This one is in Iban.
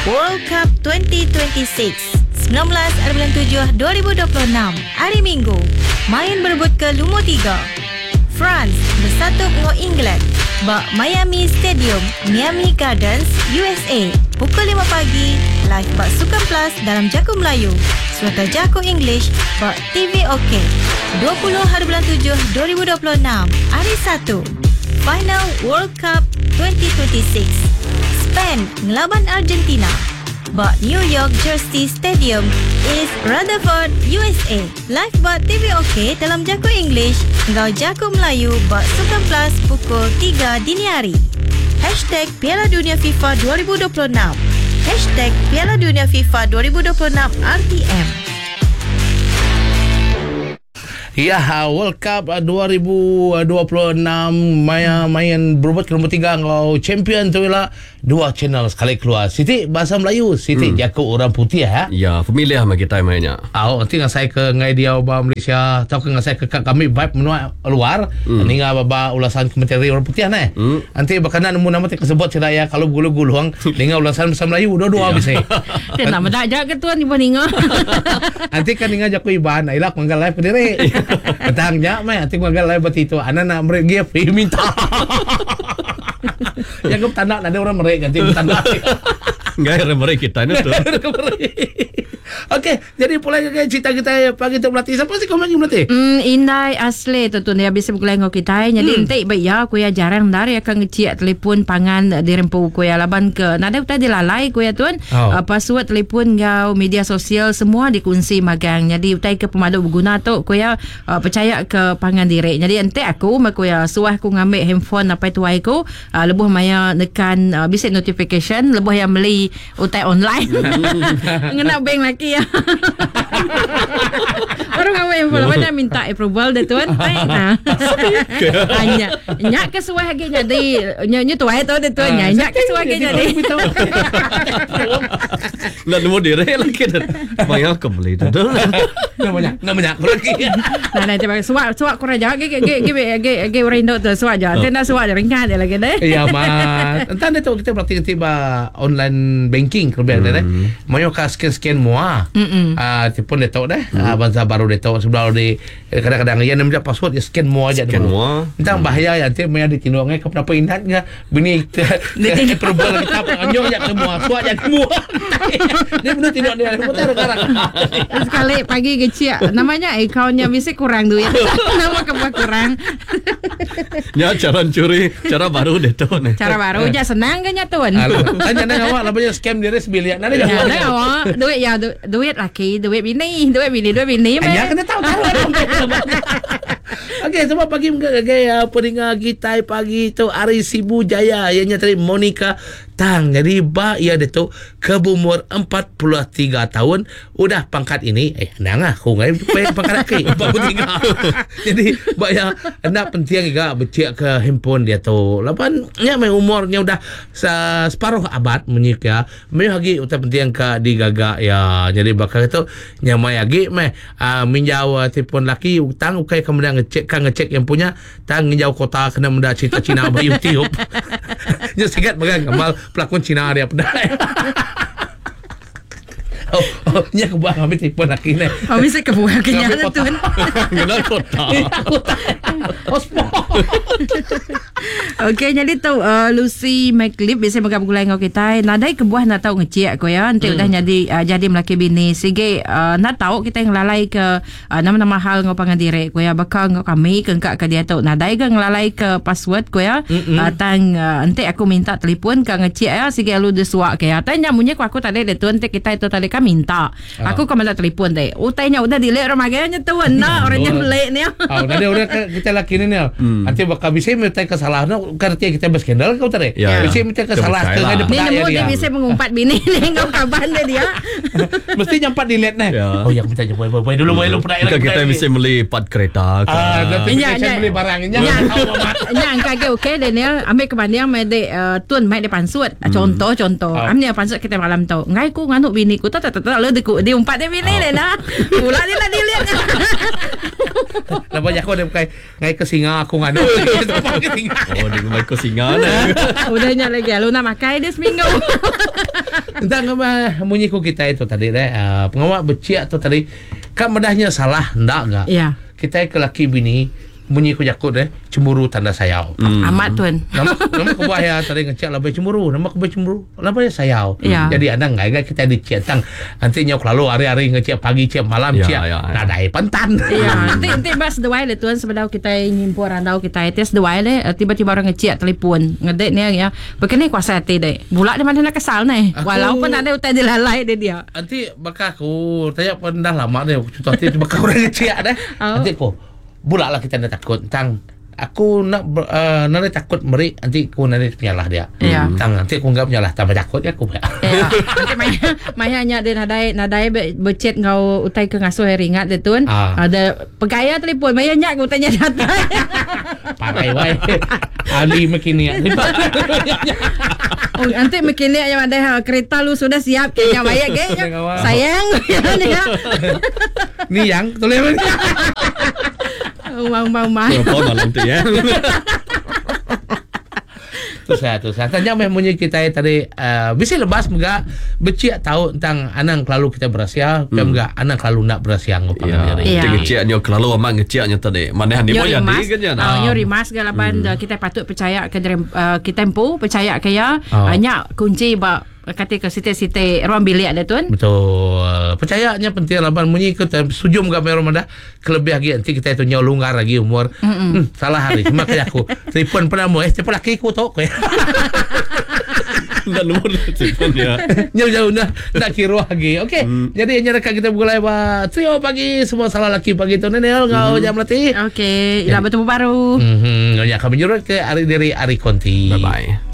World Cup 2026, 19 ari bulan tujuh 2026, Hari Minggu, main berebutka lumur tiga. France besatup enggau England ba Miami Stadium, Miami Gardens, USA, pukul lima pagi, live ba Sukan Plus dalam jaku Melayu sereta jaku English ba TV OK. 20 hari bulan tujuh 2026, Hari Satu, Final World Cup 2026, Spain ngelaban Argentina ba New York Jersey Stadium, East Rutherford, USA. Live ba TV OK dalam jaku English enggau jaku Melayu ba Sukan Plus pukul tiga dini hari. Hashtag Piala Dunia FIFA 2026 Hashtag Piala Dunia FIFA 2026 RTM. Iya, World Cup 2026 maya main berebut ke nombor tiga enggau champion tu ila dua channel sekali keluar. Siti bahasa Melayu, siti jaku orang putih ya. Ya, familiar meh kitai maya nya. Au, enti ngasai ke enggai diau ba Malaysia tauka ngasai ke ka kami vibe menua luar, ninga ba ba ulasan komentari orang putih neh. Enti baka enda nemu nama ti ke sebut sida iya kalu begulung-gulung ninga ulasan bahasa Melayu dua-dua bisi. Ti enda meda aja ke tuan ibuh ninga. Enti ka ninga jaku Iban ila ku ngaga live kediri. Petang nya meh enti ku ngaga live ba ti tu anak nak meri gift iya minta. Ya ku betanda nadai orang meri ganti betanda. Enggai orang meri kitai ne tu. Okey, jadi pulai ngagai cerita kitai pagi tu belati. Sapa si komen belati? Hmm, indai asli tu tu dia bisi begulai enggau kitai. Jadi enti ba iya ku iya jarang endar iya ka ngechik telefon pangan diri empu ku iya laban ke nadai utai dilalai ku iya tun. Oh. Uh, password telefon enggau media sosial semua dikunsi magang. Jadi utai ke pemadu beguna tu ku iya uh, pechaya ke pangan diri. Jadi enti aku meh ku iya suah aku ngambi handphone apai tuai ku uh, lebuh maya nekan uh, bisi notification lebuh iya meli utai online. Ngena bank laki iya. Baru ngambi handphone lepas nya minta approval dia tuan. Ai nah. Ah, nya nya ke suah agi nyadi nya nya tuai tu dia tuan. Nya nya ke suah agi nyadi. Enda nemu diri lagi tu. Maya ke beli tu tu. Nama nya, nama nya aku lagi. Nah, nah, coba suak suak kurang aja ge ge ge ge ge orang indu tu suak aja. Ti enda suak aja ringat dia lagi deh. Ya mat. Entah dia tu kita berarti nanti ba online banking ke lebih deh. Mayuh ka scan-scan mua. Ah telefon dia tu deh. Ah bansa baru dia tu sebelah di kadang-kadang iya nembiak password dia scan mua aja Scan mua. Entah bahaya ya nanti maya ditinduk ngai ke penapa inat ke Bini ke approval kita anjuk ja ke mua, suak ja ke mua. Dia benar tinduk dia putar sekarang. Sekali pagi kecil namanya akaunnya bisi kurang duit. Nama kebuah kurang. Nya cara curi, cara baru dia tu ni. Cara baru nya senang ke nya tuan. Tanya nang awak laban nya scam diri sebilik. Nada ja. Nada awak duit ya du, duit laki, duit bini, duit bini, duit bini. Nya kena tahu tahu. Okey, selamat pagi mega ngagai uh, peninga kitai pagi tu ari Sibu Jaya iya nya tadi Monica Tang. Jadi ba iya ditu ke berumur 43 tahun udah pangkat ini eh anang ah aku ngai pe pangkat aki 43. Jadi ba iya enda penting ga bechik ke handphone dia tu. Laban nya meh umur nya udah separuh abad munyi ke mayuh agi utai penting ka digaga iya. Jadi baka tu nyamai agi meh Aa minjau telefon laki tang ukai ka meda ngechek ka ngechek iya empu nya tang nginjau kota kena meda cerita cina ba youtube. Nya sigat mega gamal pelakon cina dia peda. Oh, oh nya kebuah ngambi telefon laki neh. Oh bisi kebuah ke nya tun. Ngena kota. Kota. Hotspot. Okey nyadi tu uh, Lucy McLeod bisi mega begulai enggau kitai. Nadai kebuah enda tau ngecik ko ya enti hmm. udah nyadi uh, jadi melaki bini sigi uh, enda tau kitai ngelalai ke uh, nama-nama hal enggau pangan diri ko ya baka enggau kami ke engka ke diatu nadai ga ngelalai ke password ko ya. Hmm. Uh, tang uh, enti aku minta telefon ka ngecik ya sigi alu disuak ke ya. Tang nya munyi ko aku tadi dia tu enti kitai tu tadi kan minta. Aku ka meda telefon ti. Utai nya udah delete orang magai nya tu enda orang nya beli ni. Oh, nadi orang ke kita laki ni ni. Nanti bakal bisi meh utai ke salah no bukan reti kita berskandal ke utai. Ya, ya. Bisi meh utai ke Kita salah percaya ke lah. ngai Ni dipeda nemu ya dia dia. bisi mengumpat bini ni enggau kaban dia dia. Mesti nyampat delete neh. Ya. Oh ya aku minta je boy boy boy dulu boy lu peda Bukan kita mesti beli part kereta ke. Ah, Nya, notification nya. beli barang nya. Nya. Tahu amat. Nya angka agi okey Daniel ambil ke banding meh dek uh, tun mai dia pansut. Contoh contoh. Ah. Am nya pansut kita malam tu. Enggai ku nganu bini ku tak tak tak lalu diku diumpat dia bini dia nah. Pula dia nak delete. Lepas jaku dia bukai ngai ke singa aku nganu. Ke singa. Oh, dia mai ke singa ne. Udah nya lagi lalu nak makai dia seminggu. Entang ngema munyi ku kita itu tadi deh. Uh, pengawa beciak tu tadi ka medahnya salah enda ga. Ya. Kita ke laki bini munyi ku jaku deh cemburu tanda sayau. Amat tuan. Nama nama kebuah ya tadi ngecek lebih cemburu, nama kebuah cemburu, laba ya sayau. Ya. Jadi anang ngai gai kita dicek tang nanti nyau kelalu hari-hari ngecek pagi cek malam Ya, cek ya, ya. nadai pentan. Ya, nanti nanti bas seduai le tuan sebedau kita nyimpul randau kita itu seduai le eh, tiba-tiba orang ngecek telefon ngedek ni ya. Begini kuasa hati dek. Bulak di mana nak kesal ni. Aku- Walaupun ada utai dilalai dia dia. Nanti bakal aku tanya pun dah lama ni contoh nanti bakal orang ngecek dah. Oh. Nanti aku bulak lah kita nak takut tentang aku nak ber, uh, nak takut meri nanti aku nanti penyalah dia. Ya. Tang nanti aku enggak penyalah tambah takut ya aku. Ya. Nanti maya maya nya dia nadai nadai be, becet ngau utai ke ngasuh hari ingat dia tuan. Ah. Ada pegaya telefon maya nya ke utainya datang. Pakai wae. Ali makin ni. Oh, nanti makin ni yang ada ha, kereta lu sudah siap kayaknya bayar kayaknya. Sayang ya. Ni yang tulis mana? Mau mau mau. Berapa malam tu ya? Tu saya tu saya. Tanya meh munyi kita tadi uh, bisa lebas mega beciak tahu tentang anang kelalu kita berasia, hmm. mega anang kelalu nak berasia ngopang Ya. diri. Ya. Kita ngeceknya kelalu amat ngeceknya tadi. Mana ni Nyo pun jadi rimas, kan ya. ah, nyo rimas ke laban hmm. kita patut percaya ke dari uh, kita empu percaya ke ya. Oh. Uh, nyak kunci ba kata ke siti-siti ruang bilik ada tuan. Betul. Percayanya penting laban munyi ke sujum ke merah dah kelebih lagi nanti kita itu nyawa longgar lagi umur. Hmm, salah hari. Cuma kayak aku. Telefon pernah mu eh telefon laki ku tok. Dan nombor telefon ya. Jauh jauh dah nak kira lagi. Okey. Jadi yang rekan kita bergulai ba trio pagi semua salah laki pagi tu Nenel ngau jam latih. Okey, ila bertemu baru. Mhm, ya kami nyurut ke hari diri hari konti. Bye bye.